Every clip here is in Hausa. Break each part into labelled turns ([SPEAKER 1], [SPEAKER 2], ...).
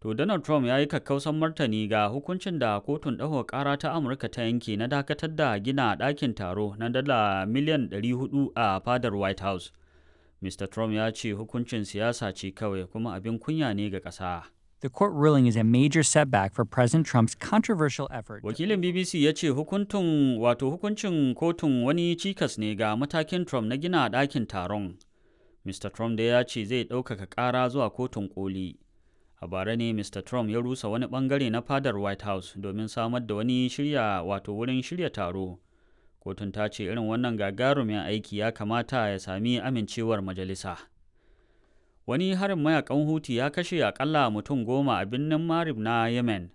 [SPEAKER 1] To Donald Trump ya yi kakkausan martani ga hukuncin da kotun ɗaukaka ƙara ta Amurka ta yanke na dakatar da gina ɗakin taro na dala miliyan 400 a fadar White House. Mr. Trump ya ce hukuncin siyasa ce kawai kuma abin kunya ne ga ƙasa.
[SPEAKER 2] The court ruling is a major setback for President Trump's controversial effort.
[SPEAKER 1] Wakilin BBC ya ce hukuntun wato hukuncin kotun wani cikas ne ga matakin Trump na gina ɗakin taron. Mr. Trump da ya ce zai ɗaukaka ƙara zuwa kotun koli. A bara ne Mr. Trump ya rusa wani bangare na fadar White House domin samar da wani shirya wato wurin shirya taro. Kotun ta ce irin wannan gagarumin aiki ya kamata ya sami amincewar majalisa. Wani harin mayakan Huti ya kashe akalla mutum 10 a birnin Marib na Yemen.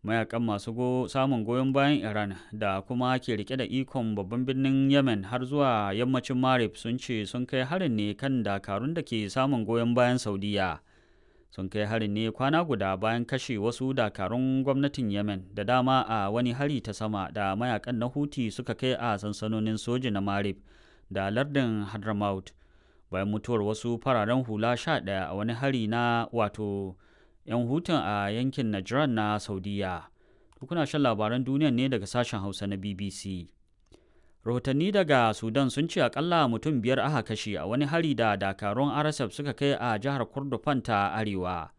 [SPEAKER 1] Mayakan masu samun goyon bayan Iran da kuma ke rike da ikon babban birnin Yemen har zuwa yammacin Marib sun ce sun kai harin ne kan dakarun da ke samun goyon bayan Saudiya. Sun kai harin ne kwana guda bayan kashe wasu dakarun gwamnatin Yemen da dama a wani hari ta sama da mayakan na Huti suka kai a sansanonin soji na Marib da lardin Hadramaut. Bayan mutuwar wasu fararen hula 11 a wani hari na wato 'yan hutun a yankin Najran na Saudiya. Kuna shan labaran duniya ne daga sashen Hausa na BBC. Rahotanni daga Sudan sun ce akalla mutum 5 aka kashe a wani hari da dakarun RSF suka kai a jihar Kordofan ta Arewa.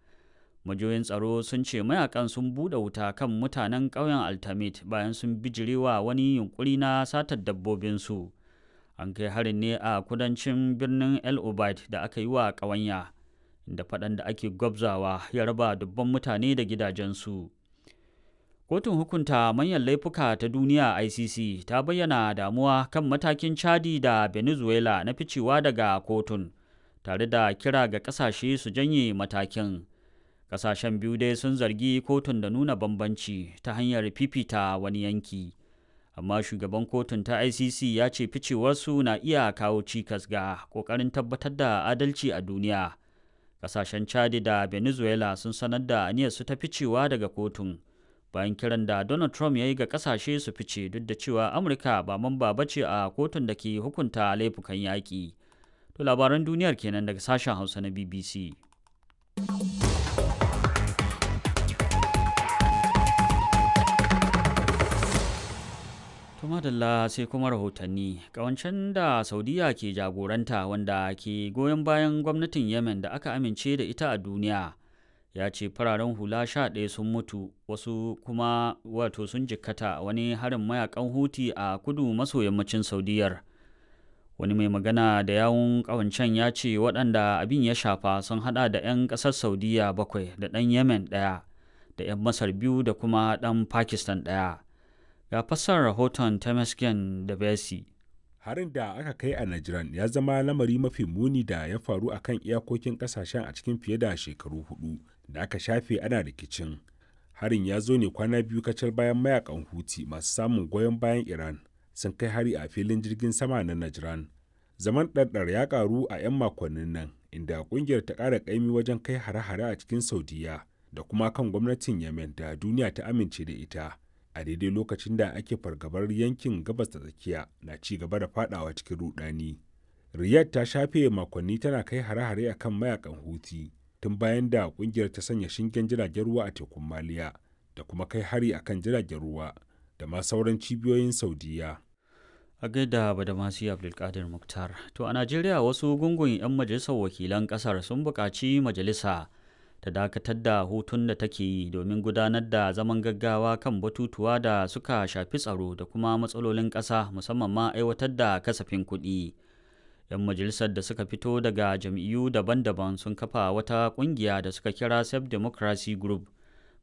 [SPEAKER 1] Majiyoyin tsaro sun ce mayakan sun buɗe wuta kan mutanen ƙauyen Altamit bayan sun bijirewa wani yunkuri na satar dabbobinsu. An kai harin ne a kudancin birnin El Obeid da aka yi wa ƙawanya, inda faɗan da ake gwabzawa ya raba dubban mutane da gidajensu. Kotun hukunta manyan laifuka ta duniya ICC ta bayyana damuwa kan matakin Chadi da Venezuela na ficewa daga kotun, tare da kira ga ƙasashe su janye matakin. Ƙasashen biyu dai sun zargi kotun da nuna bambanci ta hanyar fifita wani yanki. Amma shugaban kotun ta ICC ya ce ficewarsu na iya kawo cikas ga ƙoƙarin tabbatar da adalci a duniya. Ƙasashen Chadi da Venezuela sun sanar da aniyarsu ta ficewa daga kotun, bayan kiran da Donald Trump ya yi ga ƙasashe su fice duk da cewa Amurka ba mamba ba ce a kotun da ke hukunta laifukan yaƙi. To labaran duniyar kenan daga sashen Hausa na BBC. Madalla sai kuma rahotanni. Kawancen da Saudiya ke jagoranta wanda ke goyon bayan gwamnatin Yemen da aka amince da ita a duniya ya ce fararen hula 11 sun mutu, wasu kuma wato sun jikkata wani harin mayakan Huti a kudu maso yammacin Saudiyar. Wani mai magana da yawun kawancen ya ce waɗanda abin ya shafa sun hada da 'yan ƙasar Saudiya bakwai da ɗan Yemen ɗaya da 'yan Masar biyu da kuma ɗan Pakistan ɗaya. Ga fassarar rahoton Temesgen da Besi.
[SPEAKER 3] Harin da aka kai a Najran ya zama lamari mafi muni da ya faru a kan iyakokin kasashen a cikin fiye da shekaru 4 da aka shafe ana rikicin. Harin ya zo ne kwana biyu kacal bayan mayakan Huti masu samun goyon bayan Iran sun kai hari a filin jirgin sama na Najran. Zaman ɗarɗar ya ƙaru a 'yan makonnin nan, inda ƙungiyar ta ƙara ƙaimi wajen kai hare-hare a cikin Saudiya da kuma kan gwamnatin Yemen da duniya ta amince da ita, a daidai lokacin da ake fargabar yankin Gabas ta Tsakiya na ci gaba da fadawa cikin rudani. Riyadh ta shafe makonni tana kai hare-hare akan mayakan Huti tun bayan da kungiyar ta sanya shingen jiragen ruwa a tekun Maliya da kuma kai hari akan jiragen ruwa da ma sauran cibiyoyin Saudiya.
[SPEAKER 1] A gaida Badamasi Abdulkadir Muktar. To a Najeriya, wasu gungun 'yan majalisar wakilan kasar sun buƙaci majalisa ta dakatar da hutun da take yi domin gudanar da zaman gaggawa kan batutuwa da suka shafi tsaro da kuma matsalolin ƙasa, musamman ma aiwatar da kasafin kuɗi. 'Yan majalisar da suka fito daga jam'iyyu daban-daban sun kafa wata ƙungiya da suka kira Self Democracy Group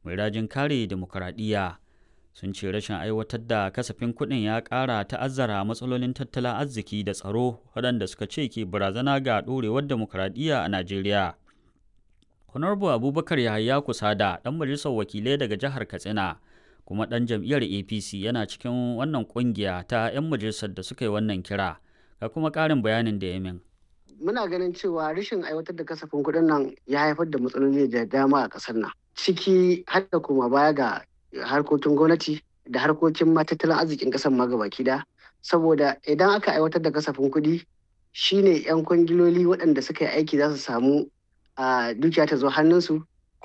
[SPEAKER 1] mai rajin kare dimokuraɗiyya. Sun ce rashin aiwatar da kasafin kuɗin ya ƙara ta'azzara matsalolin tattalin arziki da tsaro waɗanda suka ce ke barazana ga ɗorewar dimokuraɗiyya a Najeriya. Honorable Abubakar Yahaya Kusada, ɗan majalisar wakilai daga jihar Katsina, kuma ɗan jam'iyyar APC, yana cikin wannan ƙungiya ta 'yan majalisar da suka yi wannan kira. Ga kuma ƙarin bayanin da ya min.
[SPEAKER 4] Muna ganin cewa rashin aiwatar da kasafin kuɗin nan ya haifar da matsaloli da dama a ƙasar nan, ciki har da koma baya ga harkokin gwamnati da harkokin ma tattalin arzikin ƙasar ma gabaki ɗaya. Saboda idan aka aiwatar da kasafin kuɗi, shine 'yan kwangiloli waɗanda suka yi aiki za su samu a dukiya ta zo hannunsu.